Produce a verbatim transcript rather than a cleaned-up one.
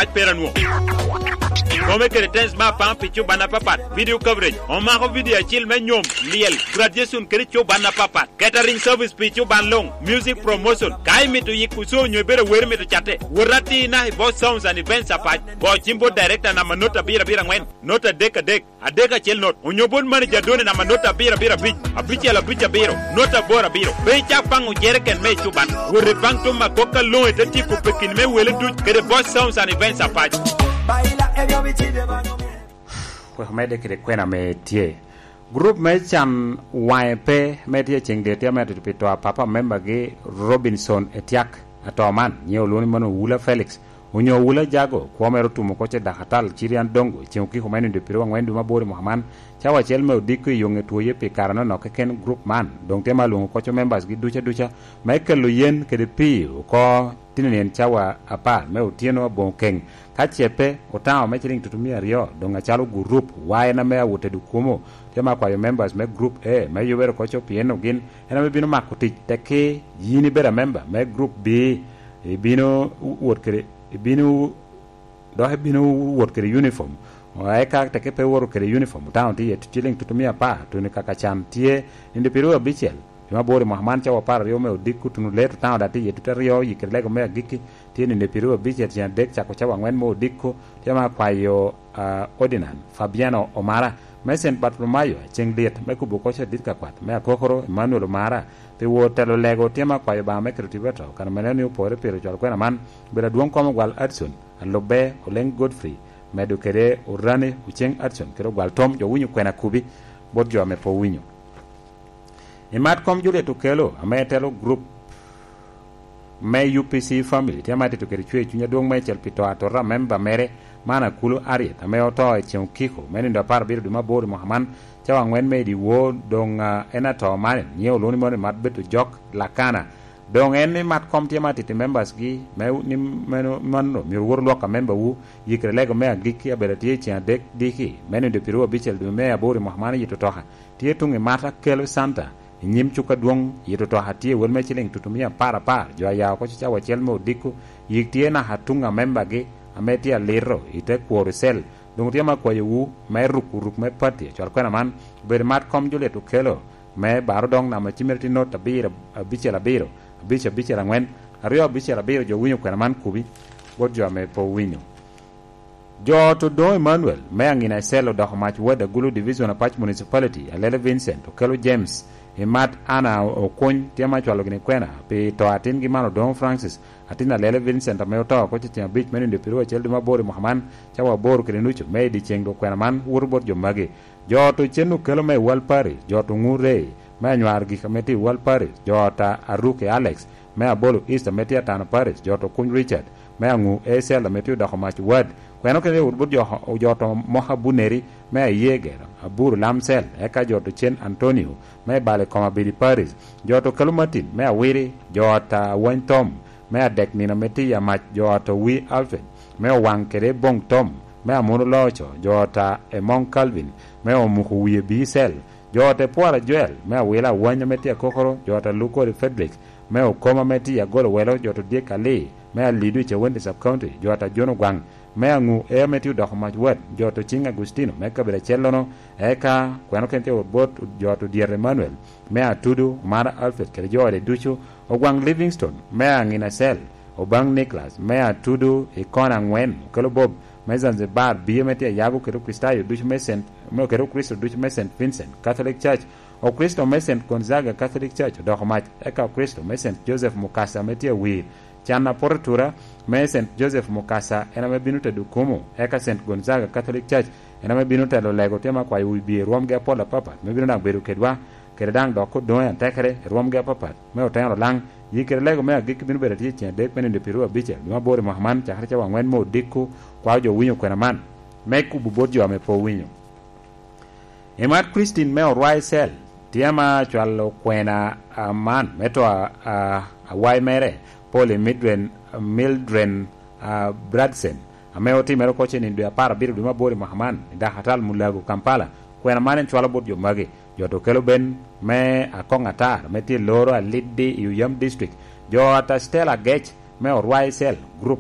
Pac pera nwo. Kome kede tens me apaŋ pi cuban apapat. Video coverage. Omako video acil me nyom, lyel, graduation kede cuban apapat. Catering service pi cuban luŋ. Music promotion. Ka imito yiko show onyo ibedo awero imito catte, wot atir naka i Boss Sounds and Events Apac. Go cim bot director namba not abiro abiro angwen, not adek adek, adek acel not, onyo bot manager Doni namba not abiro abiro abic, abicel abic abiro, not aboro abiro. Pe icak baŋ ojereken me ecuban. Wot i baŋ Tom Makok ka luŋ ite tyeko pekin me wele duc kede Boss Sounds and Events Apac. Baila ebyo bici bye baŋo bye. Wek omedde kede kwena ame tye. Gurup me can waŋe pe me tye ceŋ dyet tye ame atito pi to a papa membagi Robinson Etyak. Ato man, nyiŋe olwoŋo ni mano Wula Felix. Onyo Wula Jago, kwo mere otum oko ce Dakatal, Cirian Dongo, ceŋ okiko me nindo i piro angwen dwe me aboro i mwaka man, cawa acel me odiko i yoŋe twoye pi kare nonok keken gurup man, doŋ tye ma alwoŋo koco members gi duca duca, me kelo yen kede pii oko tino nyen cawa apar me otyeno aboŋo keŋ. Ka ce pe, otaŋo me ciliŋ tutumia aryo, doŋ acalo gurup, wa en ame awot tedo kwomo, tye ma akwayo members me gurup A, me yubere koco pien ogin, en ame bino mako tic tekki, yin ibedo amemba me gurup B, ibino wot kede, ibino, dok ibino wot kede uniform. Eka teke pe iwoto kede uniform, otaŋo tye iye tuciliŋ tutumia apar, tuni kaka can tye, nindo piro abicel, dwe me aboro i mwaka man cawa apar aryo me odiko, tuno leto otaŋo daŋ tye iye tute aryo, yikere lego me agikki, tye nindo piro abicel ceŋ adek cako cawa angwen me odiko, tye ma akwayo, ah, Ordinance Fabiano Omara, me Saint Bartolomayo, ceŋ lyet, me kubo koco adit ka kwat, me akokoro Emmanuel Omara, pi wot telo lego tye ma akwayo Obaŋa me keto tipo ato, kan omene ni opore pire cwalo kwena man, bedo adwoŋ kom ogwal Adson, alubbe Oleng Godfrey, medo kede orani Oceng Adson, kede ogwal Tom, jo winyo kwena kubi, bot jo ame pe owinyo. I mat kom Juliet Okello, ame telo gurup me U P C Family, tye ame atito kede cwer cuny adwoŋ meicel pi to atota a memba mere, man Akulu Harriet, ame oto i ceŋ okiko, me nindo apar abiro dwe me aboro i mwaka man, cawa angwen me i dyewor, doŋ, ah, en ato man, nyiŋe olwoŋo ni mono i mat bedo jok Lakana. Doŋ en ni mat kom tye ame atito i members gi, me, ni meno, mano myero wot olwok a member wu, yikere lego me agikki abedo atye i ceŋ adek diki, me nindo piro abicel dwe me aboro i mwaka man i Yito Toka. Tye tuŋ i Mata Kelo Center, i nyim cuk adwoŋ, yito toka tye wel me ciliŋ tutumia apar apar, jo a ya oko cawa acel me odiko, yik tye naka tuŋ a membagi, ame tye alito i te kworo cell. Doŋ tye ma akwayowu, me ruko ruk me pati, acwal kwena man, obedo mat kom Juliet Okello, me baro doŋ namba cimere tye not abiro, abicel abiro, abic abicel angwen, aryo abicel abiro, jo winyo kwena man kubi, bot jo ame pe owinyo. Jo ot Odoŋo Emmanuel, me Aŋina Ecel odoko mac Ward Agulu Division Apac Municipality, Alele Vincent, Okello James, i mat Anna Okuny, tye ma cwalo gini kwena, pi to atingi man Odoŋo Francis, atin Alele Vincent ame oto oko cecen abic me nindo piro acel dwe me aboro i mwaka man, cawa aboro kede nucu, me i dyeceŋ dwok kwena man, woto bot jo magi. Jo ot Ocen Okello me Wal Parish, jo ot Oŋu Rey, me Anywar Gik ame tye i Wal Parish, jo ot a Aruke Alex, me Abolo East ame tye Atano Parish, jo ot Okuny Richard, me Aŋu A C L ame tye odoko mac Ward, kweno kede wot bot jo, jo ot Moka Buneri, me Ayeger, Aburu Lamcel, eka jo ot Ocen Antonio, me Bale Kom Abedi Parish, jo ot Okello Martin, me Awiri, jo ot Awany Tom, me Adek Nino ame tye i Amac, jo ot Owi Alfred, me Owaŋ kede Boŋ Tom, me Amono Loco, jo ot Emoŋ Calvin, me Omuko Wie Bicel, jo ot Epwora Joel, me Awila Awany ame tye Akokoro, jo ot Alukodi Frederick, me Okoma ame tye Agolo Welo, jo ot Odyek Ali, me Alidu i Cawenti Sub County, jo ot Ajono Gwaŋ, me Aŋu E ame tye odoko mac Ward, jo ot Ociŋ Agustino, me kabedo acellono, eka kweno kene tye wot bot jo ot Odyet Emmanuel, me Atudu, Omara Alfred kede jo ode ducu, Ogwaŋ Livingstone, me Aŋina Cell, Obaŋ Nicholas, me Atudu i kona aŋwen, Okello Bob, me Zanzibar, Biye me tye Ayago kede Okricitayo ducu me Saint, me kede Okricito ducu me Saint Vincent Catholic Church, Okricito me Saint Gonzaga Catholic Church odoko mac, eka Okricito me Saint Joseph Mukasa me tye Awir, Can Apote Tura, me Saint Joseph Mukasa en ame bino tedo kumo, eka Saint Gonzaga Catholic Church en ame bino telo lego tye me akwayo wi bye rwomgi apol apapat, me bino daŋ bedo kedwa, kede daŋ dok odoŋe atekere i rwomgi apapat, me oteno laŋ, yi kede lego me agikki bino bedo atye i ceng adek me nindo pyeto abicel, dwe me aboro i mwaka man, cakere cawa angwen me odiko, kwao jo winyo kwena man, me kubo bot jo ame pe owinyo. I mat Christine me Orwai Cell, tye ma cwalo kwena, ah, man, me to, ah, awai mere, Polly Mildred, Mildred, ah, Bradsen, ame otimere oko cen i dwe apar abiro dwe me aboro i mwaka man, i Dakatal Mulago, Kampala. Kwena man en cwalo bot jo magi, jo to kelo ben me akoŋ atar, me tye loro aliddi i Oyam District, jo ata Stella Gec, me Orwai Cell, group